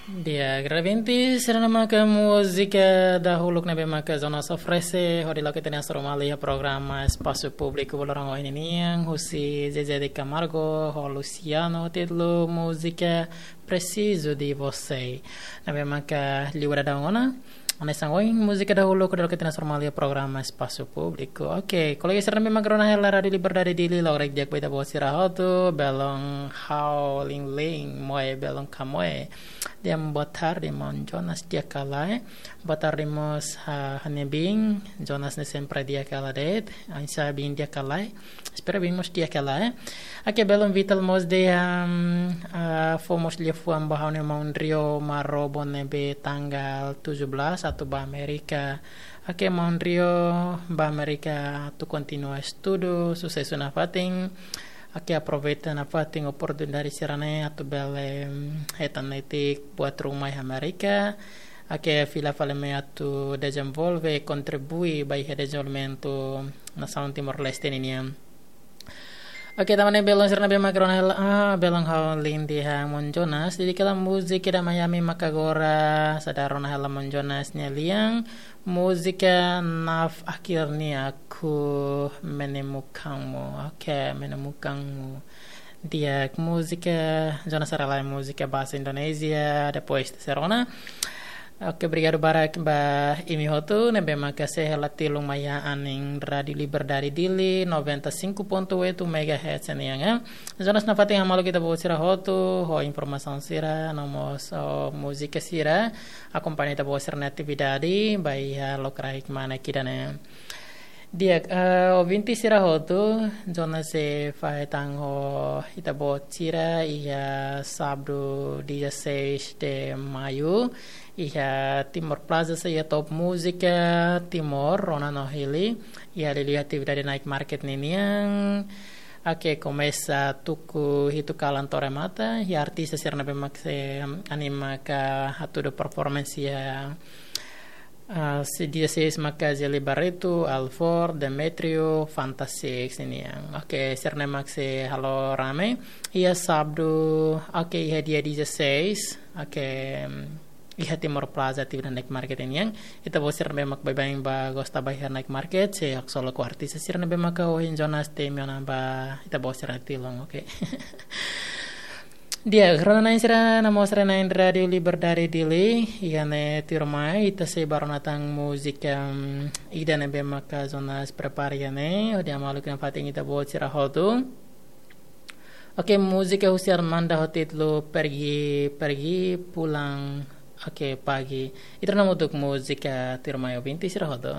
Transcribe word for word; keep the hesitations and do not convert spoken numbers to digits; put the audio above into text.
Di'ak, ouvinte sira, ne'e maka múzika dahuluk ne'ebé maka Jonas oferese hodi loke ita-nia astromalia programa Espasu Públiku ba loron ohin nian, husi Zezé de Camargo ho Luciano, títulu múzika Preciso de Você. Ne'ebé maka liu dadaun ona, hanesan ohin múzika dahuluk hodi loke ita-nia astromalia programa Espasu Públiku. Oke, kolega sira ne'ebé maka rona hela Rádiu Liberdade Dili, loroloron di'ak ba ita-boot sira hotu, belun ha'u Lin Lin, moe belun ka moe. Di'ak, boa tarde, maun Jonas, di'ak ka lae? Boa tarde mós, ah, ha'u-nia biin, Jonas ne'e sempre di'ak ka lae de'it, oinsá biin, di'ak ka lae? Espera biin mós di'ak ka lae. Oke, belun Vital mós dehan, ah, fó mós liafuan ba ha'u-nia maun Rio Marobo ne'ebé tanggal tujuh belas atu ba Amérika. Oke, maun Rio, ba Amérika atu kontinua estudu, susesu nafatin. Oke, aproveita nafatin oportunidade sira-ne'e atu bele, mm, hetan netik buat ruma iha Amérika. Oke, fila fali mai atu dezenvolve, kontribui ba iha dezenvolvimentu nasaun Timor-Leste ninian. Oke, tanba ne'e belun sira ne'ebé maka rona hela, ah, belun ha'u Lin dehan maun Jonas, dedika hela múzika ida Miami maka agora, seidauk rona hela maun Jonas nia lian, múzika Naf Akhirnya Aku Menemukanmu. Oke, Menemukanmu. Di'ak, múzika, Jonas haree lai múzika bahasa Indonézia, depois ita sei rona. Oke, obrigadu barak ba imi hotu ne'ebé maka sei hela tilun mai iha anin Rádiu Liberdade Dili, noventa e cinco ponto oito megahertz nian, eh. Jonas nafatin hamaluk ita-boot sira hotu ho informasaun sira, no mós ho múzika sira, akompaña ita-boot sira-nia atividade ba iha lokraik kmanek ida-ne'e. Di'ak, eh, ouvinte sira hotu, Jonas sei fahe tan ho ita-boot sira iha sábadu dezasseis de maio, iha Timor Plaza, sei iha Top Música Timor, rona no hili, iha liuliu atividade night market ninian. Oke, komesa tuku hitu kalan to'o remata, iha artista sira ne'ebé mak sei anima ka hatudu performance iha, ah, sei dezasseis maka Gelly Barreto, Alvor, Demetrio, Fanta Six nian. Oke, sira-ne'e mak sei halo rame. Iha sábadu, oke, iha dia dezasseis, oke, iha Timor Plaza atividade night market nian. Ita-boot sira ne'ebé mak baibain bá gosta bá iha night market, sei haksolok ho artista sira ne'ebé maka ohin Jonas temi ona ba ita-boot sira tilun, oke. Di'ak, rona-na'in sira, no mós rona-na'in Rádiu Liberdade Dili, iha ne'e tuirmai ita sei bá rona tan múzika, em, ida ne'ebé maka Jonas prepara iha ne'e, hodi hamaluk nafatin ita-boot sira hotu. Oke, múzika husi Armanda ho títulu Pergi, Pergi, Pulang, oke, Pagi. Ita rona hamutuk múzika tuirmai, ouvinte sira hotu.